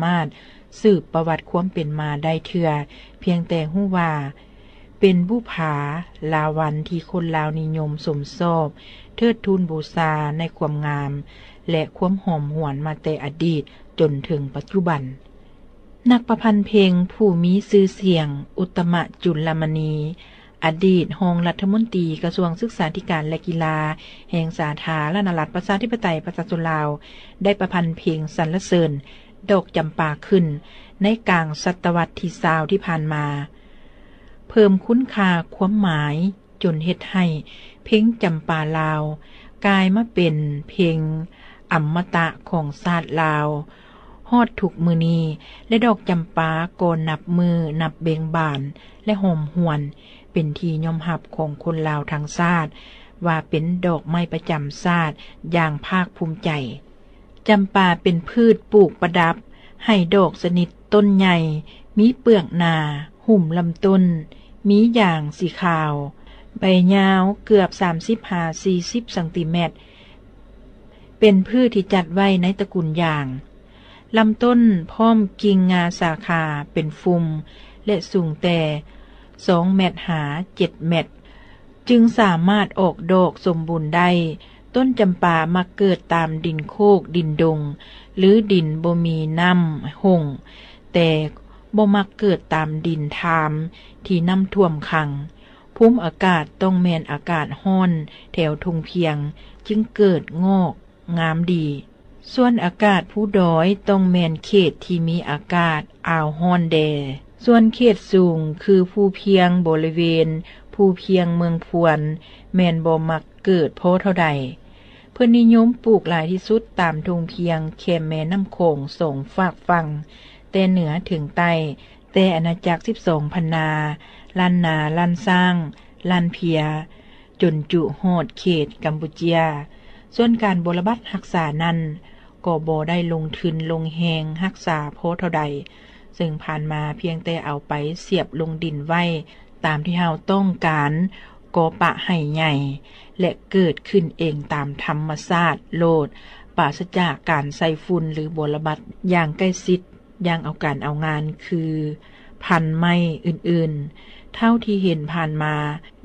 ມາດສືບປະຫວັດຄວາມເປັນມາໄດ້ເທື່ອ, ພຽງແຕ່ຮູ້ວ່າເປັນບຸພາລາວັນທີ່ຄົນລາວນິຍົມຊົມຊອບ, ເທີດທູນບູຊາໃນຄວາມງາມ ແລະ ຄວາມຫອມຫວນມາແຕ່ອະດີດຈົນເຖິງປັດຈຸບັນ. ນັກປະພັນເພງຜູ້ມີຊື່ສຽງ ອຸດຕະມະ ຈຸນລະມະນີ, ອະດີດຮອງລັດຖະມົນຕີກະຊວງສຶກສາທິການ ແລະ ກິລາ ແຫ່ງສາທາລະນະລັດ ປະຊາທິປະໄຕ ປະຊາຊົນລາວ ໄດ້ປະພັນເພງສັນລະເສີນດອກຈຳປາຂຶ້ນ ໃນກາງສະຕະວັດທີຊາວທີ່ຜ່ານມາ, ເພີ່ມຄຸນຄ່າຄວາມໝາຍ ຈົນເຮັດໃຫ້ເພງຈຳປາລາວ ກາຍມາເປັນເພງອຳມະຕະຂອງຊາດລາວ ຮອດທຸກມື້ນີ້ ແລະ ດອກຈຳປາກໍນັບມື້ນັບເບັ່ງບານ ແລະ ຫອມຫວນ ເປັນທີ່ຍອມຮັບຂອງຄົນລາວທັງຊາດ ວ່າເປັນດອກໄມ້ປະຈຳຊາດຢ່າງພາກພູມໃຈ. ຈຳປາເປັນພືດປູກປະດັບໃຫ້ດອກຊະນິດຕົ້ນໃຫຍ່, ມີເປືອກໜາ, ຫຸ້ມລຳຕົ້ນ, ມີຢາງສີຂາວ, ໃບຍາວເກືອບສາມສິບຫາສີ່ສິບຊັງຕີແມັດ, ເປັນພືດທີ່ຈັດໄວ້ໃນຕະກຸນຢາງ. ລຳຕົ້ນພ້ອມກິ່ງງາສາຂາເປັນຟຸ່ມ ແລະ ສູງແຕ່ສອງແມັດຫາເຈັດແມັດ ຈຶ່ງສາມາດອອກດອກສົມບູນໄດ້. ຕົ້ນຈຳປາມັກເກີດຕາມດິນໂຄກ, ດິນດົງ ຫຼື ດິນບໍ່ມີນ້ຳຫົ່ງ, ແຕ່ບໍ່ມັກເກີດຕາມດິນທາມທີ່ນ້ຳຖ້ວມຂັງ. ພູມອາກາດຕ້ອງແມ່ນອາກາດຮ້ອນແຖວທົ່ງພຽງ ຈຶ່ງເກີດງອກງາມດີ. ສ່ວນອາກາດພູດອຍຕ້ອງແມ່ນເຂດທີ່ມີອາກາດອາວຮ້ອນແດ່. ສ່ວນເຂດສູງຄືພູພຽງບໍລິເວນພູພຽງເມືອງພວນ ແມ່ນບໍ່ມັກເກີດພໍເທົ່າໃດ. ເພິ່ນນິຍົມປູກຫຼາຍທີ່ສຸດຕາມທົ່ງພຽງແຄມແມ່ນ້ຳຂອງສອງຟາກຝັ່ງ ແຕ່ເໜືອເຖິງໃຕ້, ແຕ່ອານາຈັກສິບສອງພັນນາ, ລ້ານນາ, ລ້ານຊ້າງ, ລ້ານເພຍ, ຈົນຈຸຮອດເຂດກຳປູເຈຍ. ສ່ວນການບົວລະບັດຮັກສານັ້ນ ກໍບໍ່ໄດ້ລົງທຶນລົງແຮງຮັກສາພໍເທົ່າໃດ, ເຊິ່ງຜ່ານມາພຽງແຕ່ເອົາໄປສຽບລົງດິນໄວ້ຕາມທີ່ເຮົາຕ້ອງການ ກໍປະໃຫ້ໃຫຍ່ ແລະ ເກີດຂຶ້ນເອງຕາມທຳມະຊາດໂລດ, ປາສະຈາກການໃສ່ຝຸ່ນ ຫຼື ບົວລະບັດຢ່າງໃກ້ຊິດ. ຢ່າງເອົາການເອົາງານຄືພັນໄມ້ອື່ນໆ. ເທົ່າທີ່ເຫັນຜ່ານມາ,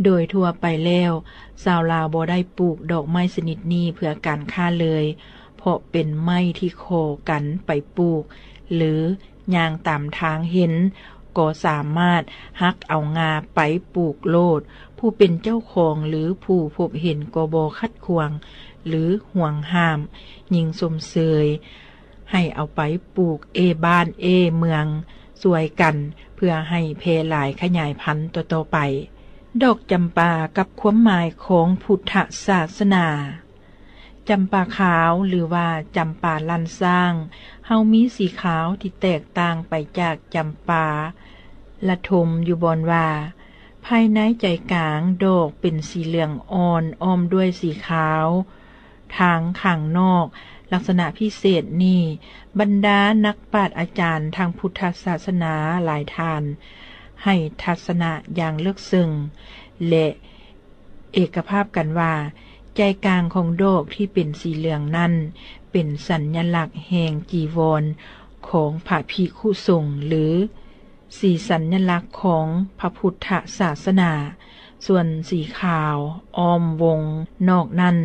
ໂດຍທົ່ວໄປແລ້ວ ຊາວລາວບໍ່ໄດ້ປູກດອກໄມ້ຊະນິດນີ້ເພື່ອການຄ້າເລີຍ, ເພາະເປັນໄມ້ທີ່ຂໍກັນໄປປູກ ຫຼື ຍ່າງຕາມທາງເຫັນ ກໍສາມາດຫັກເອົາງ່າໄປປູກໂລດ. ຜູ້ເປັນເຈົ້າຂອງ ຫຼື ຜູ້ພົບເຫັນກໍບໍ່ຂັດຂວາງ ຫຼື ຫວງຫ້າມ, ຍິ່ງຊົມເຊີຍ ໃຫ້ເອົາໄປປູກເອບ້ານເອເມືອງຊ່ວຍກັນ ເພື່ອໃຫ້ແຜ່ຫຼາຍຂະຫຍາຍພັນຕໍ່ໆໄປ. ດອກຈຳປາກັບຄວາມໝາຍຂອງພຸດທະສາສະໜາ. ຈຳປາຂາວ ຫຼືວ່າຈຳປາລ້ານຊ້າງ ເຮົາມີສີຂາວທີ່ແຕກຕ່າງໄປຈາກຈຳປາລະທົມຢູ່ບ່ອນວ່າ ພາຍໃນໃຈກາງດອກເປັນສີເຫຼືອງອ່ອນ ອ້ອມດ້ວຍສີຂາວ ທາງຂ້າງນອກ. ລັກສະນະພິເສດນີ້ ບັນດານັກປາດອາຈານທາງພຸດທະສາສະໜາຫຼາຍທ່ານ ໃຫ້ທັດສະນະຢ່າງເລິກເຊິ່ງ ແລະ ເອກະພາບກັນວ່າ ໃຈກາງຂອງດອກທີ່ເປັນສີເຫຼືອງນັ້ນ ເປັນສັນຍະລັກແຫ່ງຈີວອນຂອງພະພິກຂຸສົງ ຫຼື ສີສັນຍະລັກຂອງພະພຸດທະສາສະໜາ, ສ່ວນສີຂາວອ້ອມວົງນອກນັ້ນ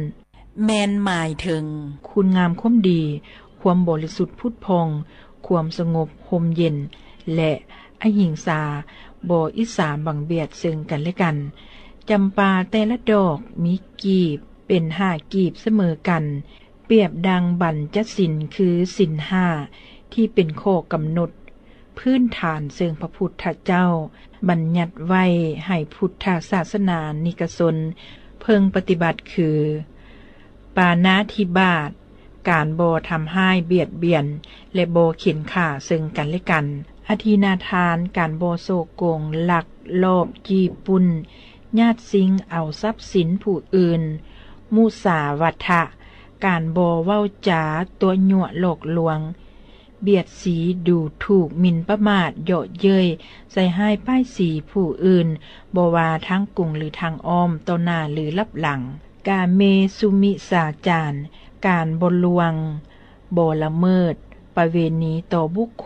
ແມ່ນໝາຍເຖິງຄຸນງາມຄວາມດີ, ຄວາມບໍລິສຸດຜຸດຜ່ອງ, ຄວາມສະຫງົບຮົ່ມເຢັນ ແລະ ອະຫິງສາ, ບໍ່ອິດສາບັງບຽດເຊິ່ງກັນແລະກັນ. ຈຳປາແຕ່ລະດອກມີກີບເປັນຫ້າກີບສະເໝີກັນ, ປຽບດັ່ງບັນຈະສິນ ຄືສິນຫ້າ ທີ່ເປັນຂໍ້ກຳນົດພື້ນຖານເຊິ່ງພະພຸດທະເຈົ້າບັນຍັດໄວ້ໃຫ້ພຸດທະສາສະໜານິກະຊົນເພິ່ງປະຕິບັດ ຄື ປານາທິບາດ, ການບໍ່ທຳຮ້າຍບຽດບຽນ ແລະ ບໍ່ເຂັນຂ້າເຊິ່ງກັນແລະກັນ, ອະທິນາທານ, ການບໍ່ສໍ້ໂກງ, ລັກລອບ, ຈີ້ປຸ້ນ, ຍາດຊິງເອົາຊັບສິນຜູ້ອື່ນ, ມຸສາວາທະ, ການບໍ່ເວົ້າຈາຕົວະຍົວະຫຼອກລວງ, ບຽດສີ, ດູຖູກ, ໝິ່ນປະໝາດ, ເຍາະເຍີ້ຍ, ໃສ່ຮ້າຍປ້າຍສີຜູ້ອື່ນ, ບໍ່ວ່າທາງກົງ ຫຼື ທາງອ້ອມ, ຕໍ່ໜ້າ ຫຼື ລັບຫຼັງ. ກາເມສຸມິດສາຈານ, ການບໍ່ລ່ວງ, ບໍ່ລະເມີດ, ປ ປະເວນີຕໍ່ບຸກຄົນ